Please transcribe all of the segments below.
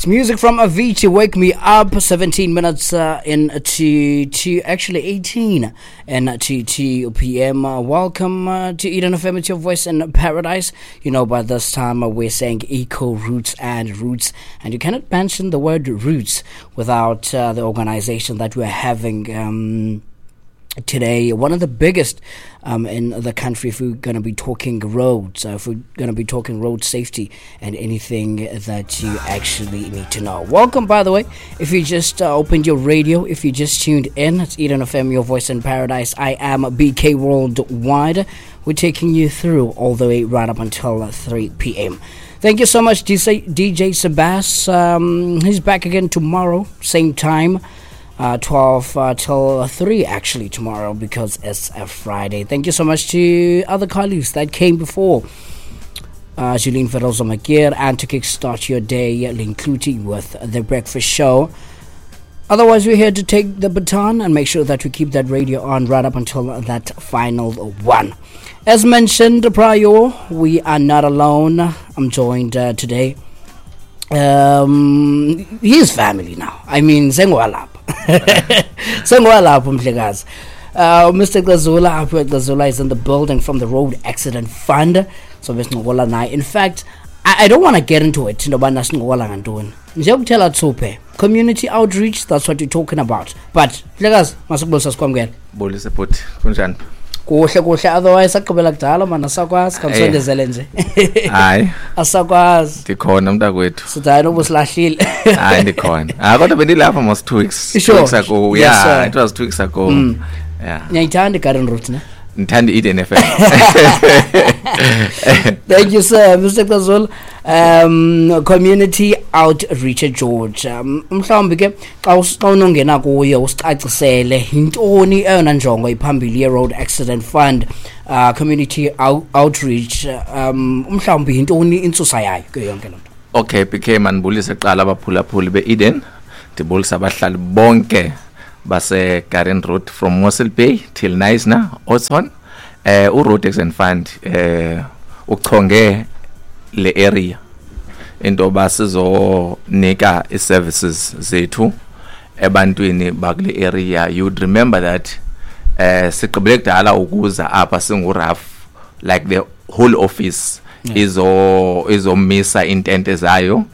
It's music from Avicii, Wake Me Up, 17 minutes in to actually 18 and to 2 p.m. Welcome to Eden FM, it's your voice in paradise. You know, by this time we're saying eco, roots and roots, and you cannot mention the word roots without the organization that we're having today, one of the biggest in the country if we're going to be talking roads, if we're going to be talking road safety and anything that you actually need to know. Welcome, by the way, if you just opened your radio, if you just tuned in, it's Eden FM, your voice in paradise. I am BK Worldwide. We're taking you through all the way right up until 3 p.m. Thank you so much, DJ Sebas. He's back again tomorrow, same time. 12 till 3 actually tomorrow, because it's a Friday. Thank you so much to other colleagues that came before. Julene Ferozo Makir, and to kickstart your day, Lynn Cloete with The Breakfast Show. Otherwise, we're here to take the baton and make sure that we keep that radio on right up until that final one. As mentioned prior, we are not alone. I'm joined today. He's family now. I mean, sengwalapha. Sengwalapha umhlekazi. Mr. Cezula, Aphiwe Cezula is in the building from the Road Accident Fund. So besincokola naye. In fact, I don't want to get into it. Nobana sincokola ngantoni. Nje ukuthela thuphe. Community outreach, that's what you're talking about. But mhlekazi, masikubulisa sikwamukele. Bulise bhuti, kunjani? Kuhle kuhle, otherwise aqhubela kudala mana sakwazi kamsondezele nje. Hayi. Asakwazi. Ndikhona mntakwethu. Sithi hayi noba usilahlile. Hayi ndikhona. Ah kodwa bendilapha mos 2 weeks. Sure. 2 weeks ago. Yes, yeah, sir. It was 2 weeks ago. Yeah. Ngiyayithanda iGarden Route ne? Ngithanda i-Eden FM. Thank you sir, Mr. Cezula. Community Outreach George. Mhlawumbi ke xa unongena kuyo usicacisele yintoni eyona njongo iphambili ye-Road Accident Fund, Community Outreach, mhlawumbi yintoni intsusa yayo kuyo yonke loo nto? Okay, BK, mandibulise kuqala abaphulaphuli be-Eden, ndibulise abahlali bonke base Garden Route from Mossel Bay till Knysna, Oudtshoorn. U-Road Accident Fund uchonge le area into yoba sizonika i-services zethu ebantwini bakule area. You'd remember that sigqibele kudala ukuza apha singu-RAF, like the whole office izomisa intente zayo,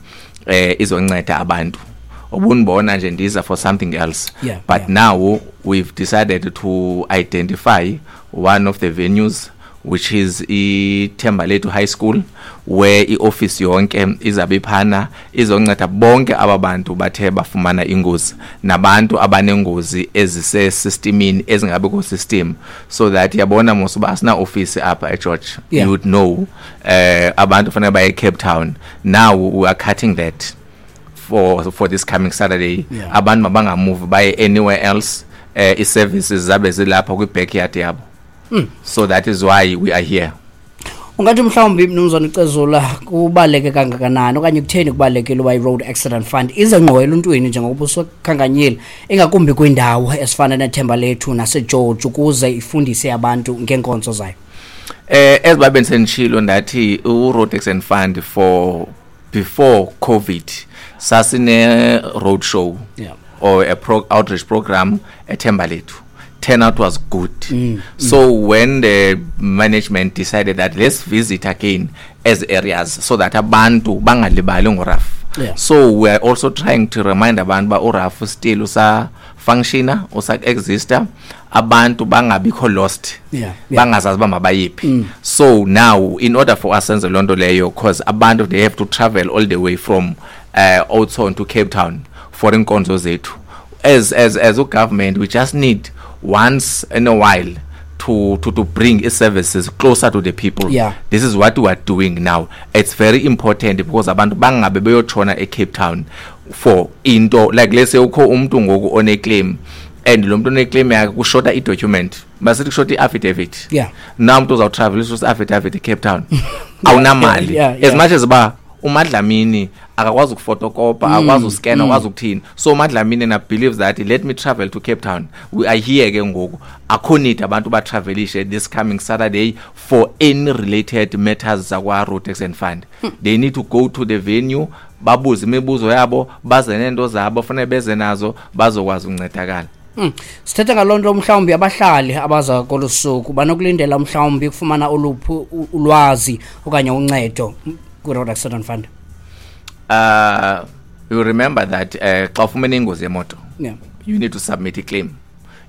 izonceda abantu. Ubunibona nje ndiza for something else. But now we've decided to identify one of the venues, which is iThembalethu High School, where i-office yonke izabe iphana izonceda bonke aba bantu bathe bafumana ingozi nabantu abanengozi ezisesystemini ezingabe ku system, so that yabona mos uba asina office apha eGeorge. You would know abantu fanele baye Cape Town. Now we are cutting that for this coming Saturday. Abantu mabangamove baye anywhere else. I-services zabe zilapha kwi-backyard yabo. So that is why we are here. Ungathi mhlawumbi mnumzana Cezula kubaleke kangakanani okanye kutheni kubalekile uba i-Road Accident Fund ize ngqo eluntwini njengokuba usukhankanyile, ingakumbi kwindawo esifana neThembalethu naseGeorge, ukuze ifundise abantu ngeenkonzo zayo? As babe ndisenditshilo ndathi u-Road Accident Fund for before COVID sasine road show or a outreach program eThembalethu. Turnout was good. So when the management decided that let's visit again as areas so that abantu bangalibali ngoRAF. So we are also trying to remind abantu ba uRAF still usa functiona, usa exista, abantu bangabikho lost. Bangazazi ba mabayiphi. So now in order for us senze lonto leyo, because abantu they have to travel all the way from Oudtshoorn to Cape Town for inkonzo zethu. As a government we just need once in a while to bring services closer to the people. This is what we are doing now. It's very important because abantu bangabe beyotshona eCape Town for into like let's say ukho umuntu ngoku one claim and lo muntu one claim yakhe kushota i document, basithi kushota i affidavit. Now umuntu uzawu travel usu affidavit eCape Town. Awunamali. As much as ba Umadlamini akakwazi ukufotokopa, akakwazi uskena, akakwazi ukuthini. So uMadlamini na believes that let me travel to Cape Town. We are here ke ngoku, akho need abantu batravelishe this coming Saturday for any related matters zakwa Road Accident Fund. They need to go to the venue, babuze imibuzo yabo, baze nento zabo fanele beze nazo, bazokwazi ukuncedakala. Sithetha ngaloo nto, mhlawumbi abahlali abaza kolu suku banokulindela mhlawumbi ukufumana oluphi ulwazi okanye uncedo kwi-Road Accident Fund? You remember that xa ufumene ingozi yemoto, you need to submit a claim,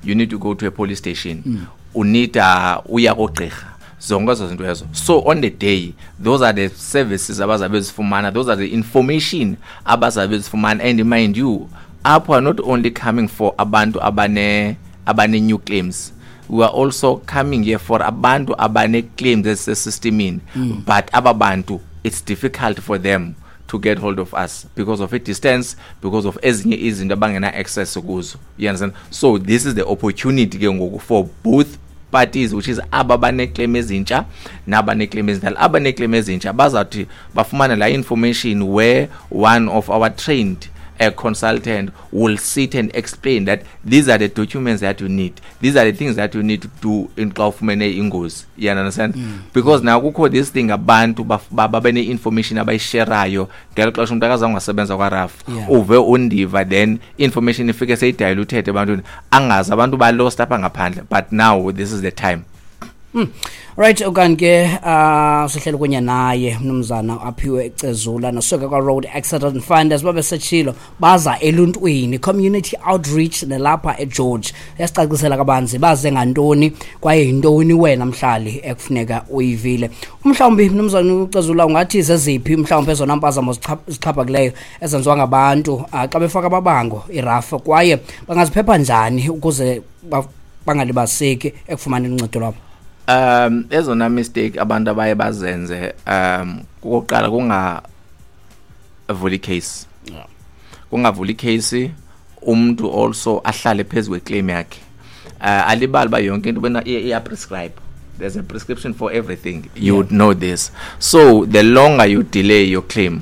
you need to go to a police station, u-need uya kogqirha, zonke ezo zinto ezo. So on the day, those are the services abazabe bezifumana, those are the information abazabe bezifumana. And mind you, apho are not only coming for abantu abane new claims, we are also coming here for abantu abane claims ezisesystemini, but aba bantu it's difficult for them to get hold of us because of a distance, because of ezinye izinto abangena access kuzo, you understand? So this is the opportunity ke ngoku for both parties, which is aba baneclaim ezintsha nabaneclaim ezindala. Abaneclaim ezintsha bazawuthi bafumane la information where one of our trained a consultant will sit and explain that these are the documents that you need, these are the things that you need to do in xa ufumene ingozi, you understand? Because now kukho this thing, abantu babe ne-information abayisherayo ngelo xesha umntu akazange wasebenza kwaRAF. Uve undiva, then information ifike seyidiluted ebantwini, angazi, abantu balost apha ngaphandle. But now this is the time. Right, okanye ke sihleli kunye naye mnumzana Aphiwe Cezula nosuka kwa Road Accident Fund. Asibabe setshilo, baza eluntwini, community outreach nelapha eGeorge. Yasicacisela kabanzi baze ngantoni kwaye yintoni wena mhlali ekufuneka uyivile. Mhlawumbi mnumzana uCezula ungathi zeziphi mhlawumbi ezona mpazamo zixhaphakileyo ezenziwa ngabantu xa befaka amabango iRAF, kwaye bangaziphepha njani ukuze bangalibaziseki ekufumaneni uncedo lwabo? Ezona mistake abantu abaye bazenze, kokuqala kungavuli case. Kungavuli case, umuntu also ahlale phezulu kweclaim yakhe. Alibali ba yonke into bena iya prescribe. There's a prescription for everything. You would know this. So the longer you delay your claim,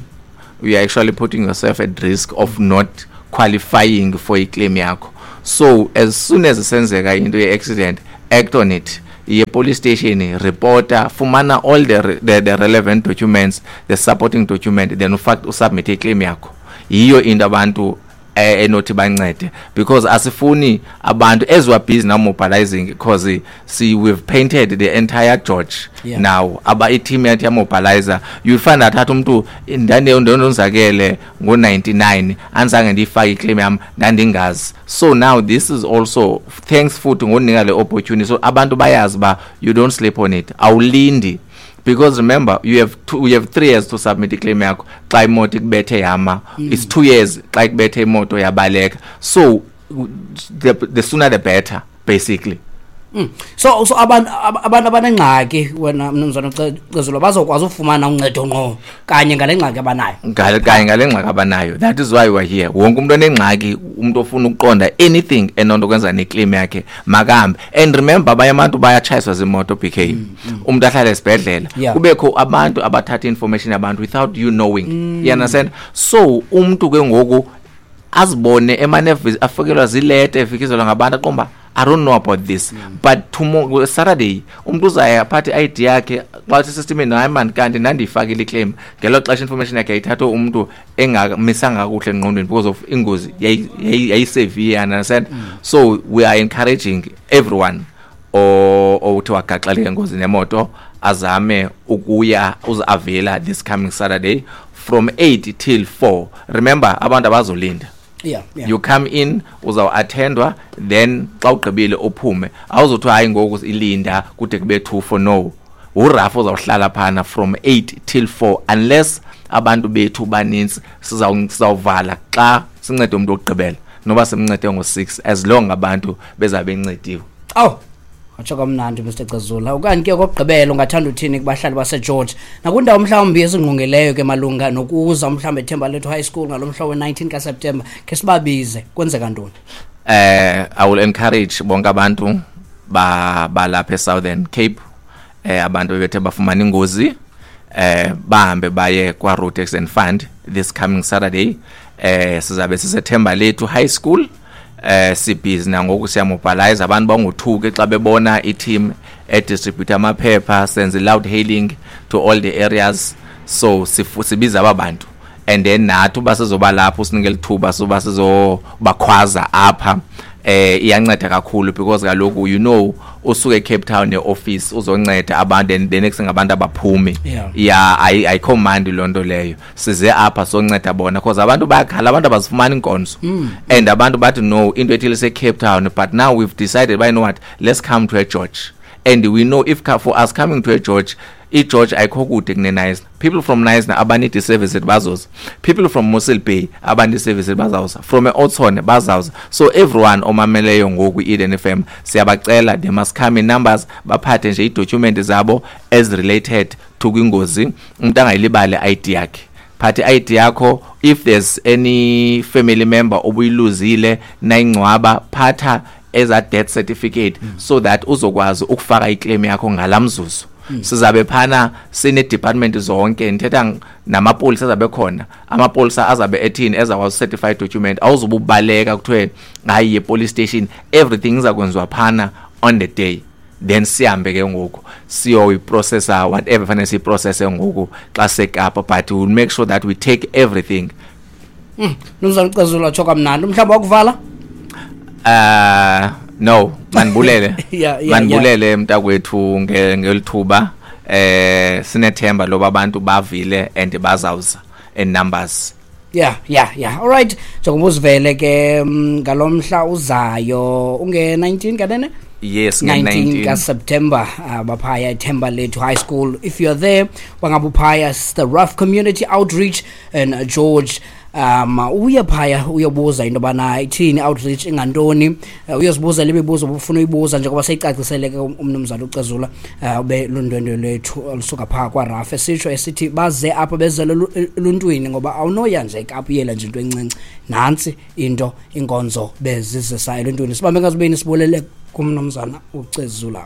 you are actually putting yourself at risk of not qualifying for a claim yakho. So as soon as senzeka into ye-accident, act on it. Iye police station, reporta, fumana all the relevant documents, the supporting document, then ufak usubmit iclaim yakho. Yiyo into abantu enothi bancede, because asifuni abantu, as we are busy now mobilizing, because see, we've painted the entire George. Now aba i-team yathi yamobilizer, you find that athi umuntu ndandonzakele ngo-99, andizange ndiyifake iclaim yam, ndandingazi. So now this is also thanks futhi ngokunika le opportunity, so abantu bayazi uba you don't sleep on it, awulindi, because remember you have 3 years to submit iclaim yakho xa imoto ikubethe yama. It's 2 years xa ikubethe imoto yabaleka. So the sooner the better, basically. So abantu abanengxaki, wena mnumzana Cezula, bazokwazi ufumana uncedo ngqo kanye ngale ngxaki abanayo? Ngale kanye ngale ngxaki abanayo. That is why we are here. Wonke umuntu onengxaki, umuntu ofuna ukuqonda anything enonto kwenza neclaim yakhe, makahambe. And remember, abanye abantu bayatshayiswa zimoto, BK, umuntu ahlale esibhedlela. Kubekho abantu abathatha information yabantu without you knowing, you understand? So umuntu ke ngoku azibone emane afikelwa zileta, efikizelwa ngabantu, aqomba, "I don't know about this." But tomorrow, Saturday, umuntu uzaya aphathe i-ID yakhe, xa uthi systemini, "Hayi man, kanti ndandiyifakile iclaim." Ngelo xesha information yakhe yayithathwe umuntu engamisanga kakuhle engqondweni because of ingozi yayisevere, understand? So we are encouraging everyone owuthi wagaxeleka engozini yemoto azame ukuya uzi-availa this coming Saturday from 8 till 4. Remember, abantu abazolinda. You come in, uzawu-attendwa, then xa ugqibile uphume. Awuzothiwa, "Hayi, ngoku ilinda kude kube 2 for." No, uRAF uzawuhlala phana from 8 till 4 unless abantu bethu banintsi. Sizawuvala xa sincede umntu wokugqibela, noba simncede ngo-6, as long abantu bezabe bencediwe. Awu, watsho kamnandi, Mr Cezula. Okanye ke okokugqibela ungathanda uthini kubahlali baseGeorge nakwindawo mhlawumbi ezingqongileyo ke malunga nokuza mhlawumbi eThembalethu High School ngalo mhla we-19 kaSeptemba, khe sibabize, kwenzeka ntoni? I will encourage bonke abantu ba balapha eSouthern Cape, abantu bebethe bafumana ingozi, Bahambe baye kwa Road Accident Fund this coming Saturday. Sizabe siseThemba Lethu High School. Sibhizi nangoku, siyamobilize abantu, bangothuki xa bebona i-team edistribute amaphepha, senze loud hailing to all the areas. So sibiza aba bantu and then nathi uba sizoba lapho, usinike lithuba soba sizobakhwaza apha. Iyanceda kakhulu because kaloku usuke eCape Town neoffice uzonceda abantu and the next thing abantu abaphumi. Yeah, ayikho mandi loo nto leyo. Size apha sonceda bona because abantu bayakhala, abantu abazifumani inkonzo and abantu bathi no, into ethile se-Cape Town, but now we've decided, you know what, let's come to a George, and we know if for us coming to a George, iGeorge ayikho kude kuneNknysna. People from Knysna abanid i-service bazoza, people from Mossel Bay abanid i-service bazawuza, from eOudtshoorn bazawuza. So everyone omameleyo ngoku i-Eden FM, siyabacela, they must come in numbers, baphathe nje iidocument zabo as related to kwingozi. Umuntu angayilibali i-ID yakhe, phathe i-ID yakho. If there's any family member obuyiluzile nayingcwaba, phatha eza death certificate so that uzokwazi ukufaka iclaim yakho ngalamzuzu. Sizabe phana sine department zonke, ndithetha namapolisa azabe khona, amapolisa azabe ethini, ezakwazi certified document, awuzobe ubaleka kuthiwe hayi, ye police station. Everything izakwenziwa phana on the day, then sihambe ke ngoku siyoyiprocessa whatever fanele siyiprocesse ngoku xa sekapa, but we'll make sure that we take everything. Mnumzana uCezula, tsho kamnandi, mhlawumbi wakuvala. No, manibulele. Manibulele mntakwethu ngelithuba. Sinethemba loba abantu bavile and bazawuza in numbers. Yeah. All right. Njengoba uzivele ke ngalomhla uzayo unge 19 kanene? Yes. 19 nge-19 kaSeptember, baphaya eThemba Lethu High School. If you're there, bangabe uphaya, it's the RAF Community Outreach and George, uye phaya uyobuza into yobana ithini outreach, ingantoni, uyozibuza le mibuzo ubufuna uyibuza njengoba seyicacisele ke umnumzana uCezula, ube lundwendwe lwethu olusuka phaa kwaRAF, esitsho esithi baze apha bezele eluntwini ngoba awunoya nje eKapa uyela nje into encinci. Nantsi into inkonzo bezizisa eluntwini. Sibambe ngazibini, sibulele kumnumzana uCezula.